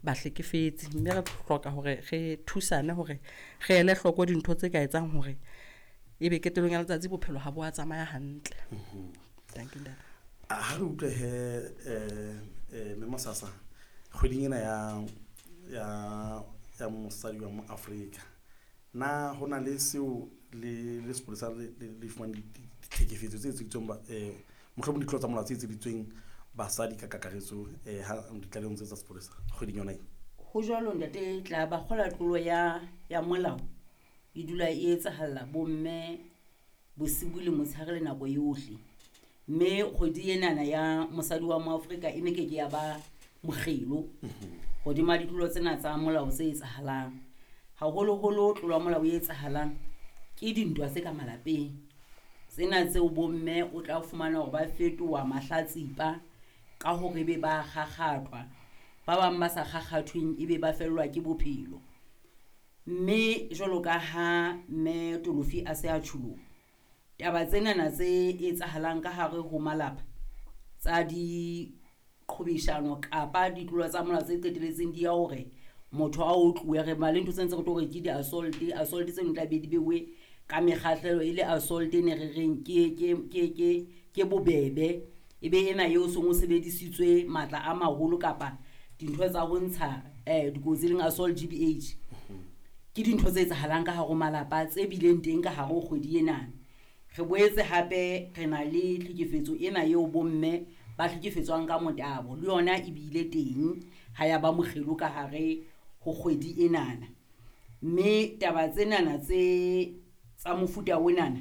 bahlekefetsi, mme re hloka hore re thusane hore re ele hloko dintho tse ka etsang hore ebe qetellong ya letsatsi bophelo ha bo a tsamaya hantle. Thank you, ntate. Ha re utlwe he mme Mosasa, kgweding ena ya mosadi wa mo Afrika, na ho na le seo le sepolesa le fumane ditlhekefetso tse etseditsweng mohlomong ditlolo tsa molao tse etseditsweng basadi ka kakaretso ha ditlalehong tse tsa sepolesa kgweding yona e? Ho jwalo ntate, tla ba kgola tlolo ya molao e dula e etsahalla bomme bosibu le motshehare le nako yohle. Mme kgwedi enana ya mosadi wa moAfrika e ne ke ke ya ba mokgelo hodima ditlolo tsena tsa molao tse etsahalang. Haholoholo tlolo ya molao e etsahalang ke dintwa tse ka malapeng. Tsena tseo bomme o tla fumana hore ba fetoha mahlatsipa ka hore ebe ba kgakgathwa, ba bang ba sa kgakgathweng ebe ba fellwa ke bophelo. Mme jwalo ka ha mme Tolofi a se a tjhulo, taba tsenana tse etsahalang ka hare ho malapa tsa diqhobeshano kapa ditlolo tsa molao tse qetelletseng di ya hore motho a otluwe, re ba le ntho tse ntse re tlo re ke di-assault. Assault tseno tla be di beuwe ka mekgahlelo e le assault e ne re reng ke bobebe, e be ena eo seng o sebedisitswe matla a maholo kapa dintho tsa ho ntsha dikotsi leng assault GBH. Ke dintho tse etsahalang ka hare ho malapa tse bileng teng ka hare ho kgwedi ena. Re boetse hape re na le tlhekefetso ena eo bomme ba hlekefetswang ka motabo, le yona e bile teng ha ya ba mokgelo ka hare ho kgwedi enana. Mme taba tsenana tse tsa mofuta onana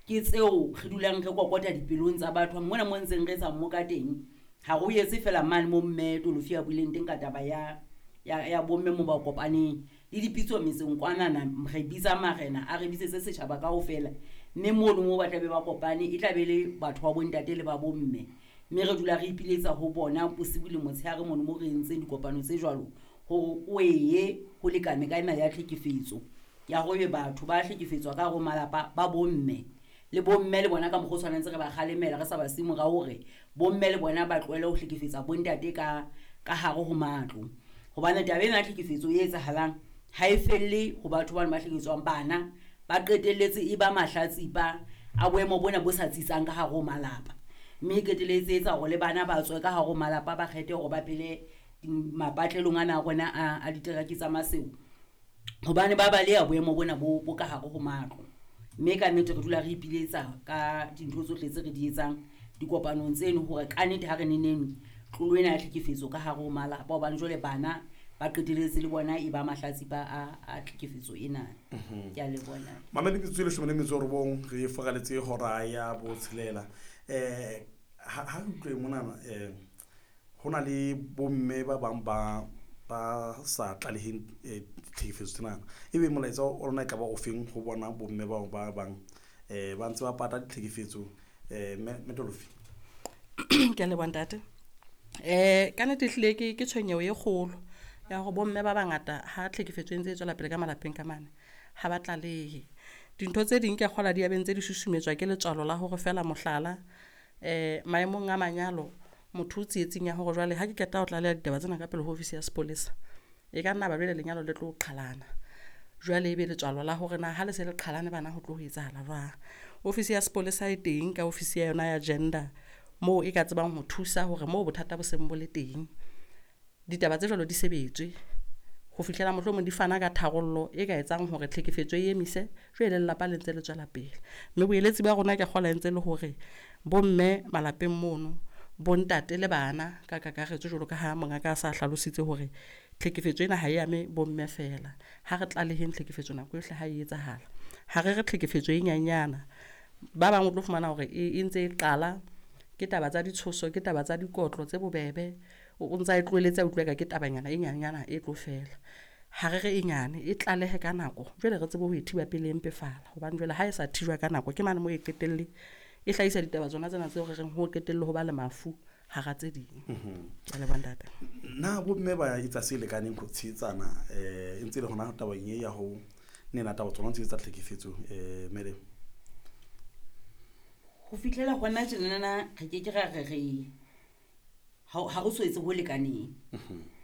ke tseo re dulang re kokota dipelong tsa batho mona mo ntseng re etsa mmoka teng. Ha re o etse fela mane mo mme Tolofi a buileng teng ka taba ya bomme mo ba kopaneng le dipitso metseng kwanana, re bitsa marena a re bitsetse setjhaba kaofela, mme mono mo ba tlabe ba kopane e tla be le batho ba bontate le ba bomme, mme re dula re ipiletsa ho bona bosibu le motshehare mono mo re entseng dikopano tse jwalo hore o eye ho lekane ka ena ya tlhekefetso ya hore batho ba hlekefetswa ka hare ho malapa ba bomme le bomme le bona ka mokgwa o tshwanetse re ba kgalemela, re sa ba siye morao hore bomme le bona ba tlohele ho hlekefetsa bontate ka hare ho matlo. Hobane taba ena ya tlhekefetso e etsahalang ha e felle ho batho bano ba hlekefetswang, bana ba qetelletse e ba mahlatsipa a boemo bona bo sa tsitsang ka hare ho malapa, mme e qetelletse e etsa hore le bana ba tswe ka hare ho malapa ba kgethe hore ba phele mapatlelong ana a rona a diteraki tsa Maseru, hobane ba baleha boemo bona bo ka hare ho matlo. Mme ka nnete re dula re ipiletsa ka dintho tsohle tse re di etsang dikopanong tseno hore ka nnete ha re neneng tlolo ena ya tlhekefetso ka hare ho malapa, hobane jwale bana ba qetelletse le bona e ba mahlatsipa a tlhekefetso ena. Ke a leboha. Mamedi, metsotso e 19 re foraletse hora ya botshelela. Ha re utlwe monana, ho na le bomme ba bang ba sa tlaleheng ditlhekefetso tsena. Ebe molaetsa o lona e ka ba o feng ho bona bomme bao ba bang ba ntse ba pata ditlhekefetso, mme Tolofi? Ke a leboha ntate. Ka nnete ehlile ke tshwenyeho e kgolo ya hore bomme ba bangata ha tlhekefetso e ntse e tswela pele ka malapeng ka mane ha ba tlalehe. Dintho tse ding ke a kgolwa di ya be ntse di susumetswa ke letswalo la hore feela mohlala, maemong a manyalo motho o tsietsing ya hore jwale ha ke qeta ho tlaleha ditaba tsena ka pele ho ofisi ya sepolesa, e ka nna ba jwale lenyalo le tlo qhalana. Jwale ebe letswalo la hore na ha le se le qhalane bana ho tlo ho etsahala jwang. Ofisi ya sepolesa e teng ka ofisi ya yona ya gender moo e ka tsebang ho thusa hore moo bothata bo seng bo le teng ditaba tse jwalo di sebetswe ho fihlela mohlomong di fana ka tharollo e ka etsang hore tlhekefetso e emise, jwale lelapa le ntse le tswela pele. Mme boeletsi ba rona ke kgolwa e ntse le hore bomme malapeng mono, bontate le bana ka kakaretso, jwalo ka ha mongaka a sa hlalositse hore tlhekefetso ena ha e ame bomme feela. Ha re tlaleheng tlhekefetso nako yohle ha e etsahala. Ha re re tlhekefetso e nyenyana, ba bang o tlo fumana hore e ntse e qala ke taba tsa ditshoso, ke taba tsa dikotlo tse bobebe, o ntsa e tlohelletse a utlwa eka ke tabanyana e nyenyana e tlo fela. Ha re re e nyane, e tlalehe ka nako, jwale re tsebe ho e thiba pele e mpefala, hobane jwale ha e sa thijwa ka nako ke mane moo e qetelle e hlahisa ditaba tsona tsena tseo re reng ho qetelle ho ba le mafu hara tse ding. Ke a leboha ntate. Na bomme ba etsa se lekaneng ho tshehetsana, e ntse le hona tabeng e ya ho nena taba tsona tse tsa tlhekefetso, madam? Ho fihlela hona tjenana re ke ke ra re re ha re so etse ho lekaneng.